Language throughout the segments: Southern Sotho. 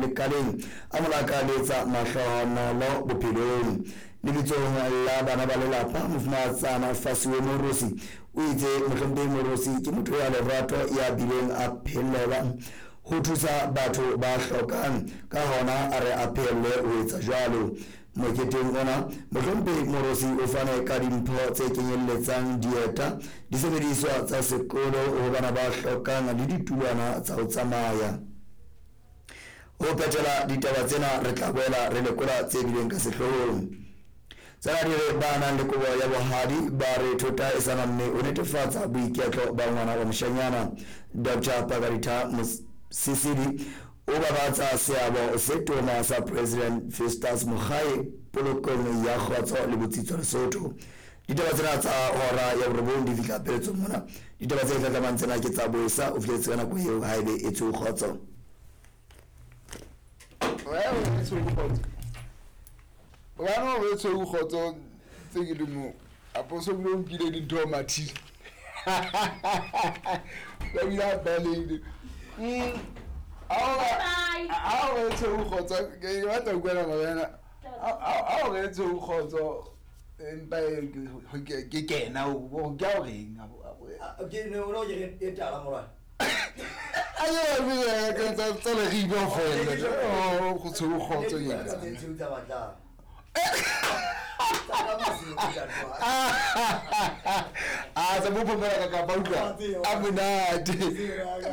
lekaleng, a mo lakaletsa mahlohonolo bophelong. Lebitsong la bana ba lelapa, Mofumahatsana Fasiwe Moorosi o itse Mohlomphehi Moorosi ke motho ya lerato ya bileng a phelela ho thusa batho ba hlokang, ka hona a re a phehelle ho etsa jwalo. Moketeng ona, Mohlomphehi Moorosi o fane ka dimpho tse kenyelletsang dieta, disebediswa tsa sekolo ho bana ba hlokang le ditulwana tsa ho tsamaya. Ho phethela ditaba tsena re tla boela re lekola tse bileng ka sehloohong. Tsena di re ba nang le kobo ya bohadi ba re thota e sa namme ho netefatsa boiketlo ba ngwana wa moshanyana. Dr. Pakaritha Mosisili o babatsa seabo se tona sa President Festus Mogae polokong ya kgotso le botsitso Lesotho. Ditaba tsena tsa hora ya borobong di fihla pheletsong mona. Ditaba tse hlahlamang tsena ke tsa boesa o fihletse ka nako eo haebe e tshweu kgotso. Bana o tshweu kgotso tse ke le mo aposo bile o nkile dintho mathile ba bile a baleile a o re tshweu kgotso ke batla ho utlwela morena a o re tshweu kgotso empa ke kena o ke a o reng ke ne o ke e tala morwa tsa leribe fela go tshweu kgotso a tsa bophomela ka kapa utlwa a monate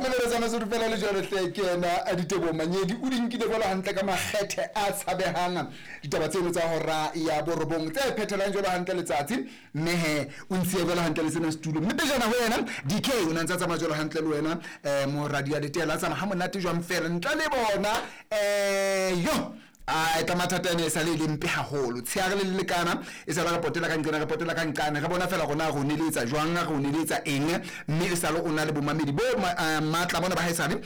melelo tsa masotho fela le jalo hle ke ena a ditebo manyedi o di nkile jalo hantle ka makgethe a tshabehang ditaba tseno tsa hora ya borobong tse phethelang jalo hantle letsatsi mme he o ntshiye jalo hantle le sena setulo mme pejana ho yena DK o ne a ntse a tsamaya jalo hantle le wena um moradi ya letela a tsamaya ha monate jwang fela ntle le bona um yo a tla mathata ene e sa le e le mpe haholo tsheare le le lekana e sa le re potela ka nqena re potela ka nqane re bona fela rona re o neletsa jwang re o neletsa eng mme e sale o na le bomamedi bo matla bona ba haesale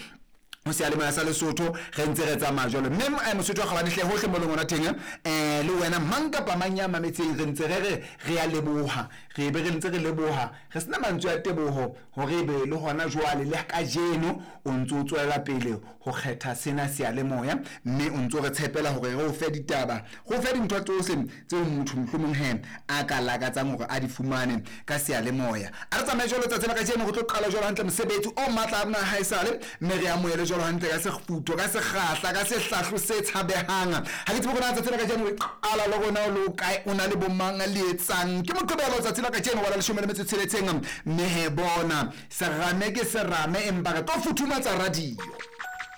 ho seyalemoya sa Lesotho re ntse re tsamaya jwalo mme Mosotho wa kgabane hle hohle mo leng ona teng le wena mang kapa mang ya mametseng re ntse re re re ya leboha re be re ntse re leboha re sena mantswe a teboho hore ebe le hona jwale le kajeno o ntse o tswela pele ho kgetha sena seyalemoya mme o ntse o re tshepela hore re o fe ditaba go fe dintho tsohle tseo motho mohlomong he a ka lakatsang hore a di fumane ka seyalemoya. A re tsamaye jwalo tsatsi la kajeno go tlo qala jwalo hantle mosebetsi o matla a rona haesale mme re amohele jwalo hantle ka sefutho ka sekgahla ka sehlahlo se tshabehang. Ha ke tsebe hore na tsatsi la kajeno re qala le rona o le o kae o na le bomang le etsang ke Moqebelo tsatsi la kajeno wa la 17 mme he bona serame ke serame empa re tlo futhumatsa radio.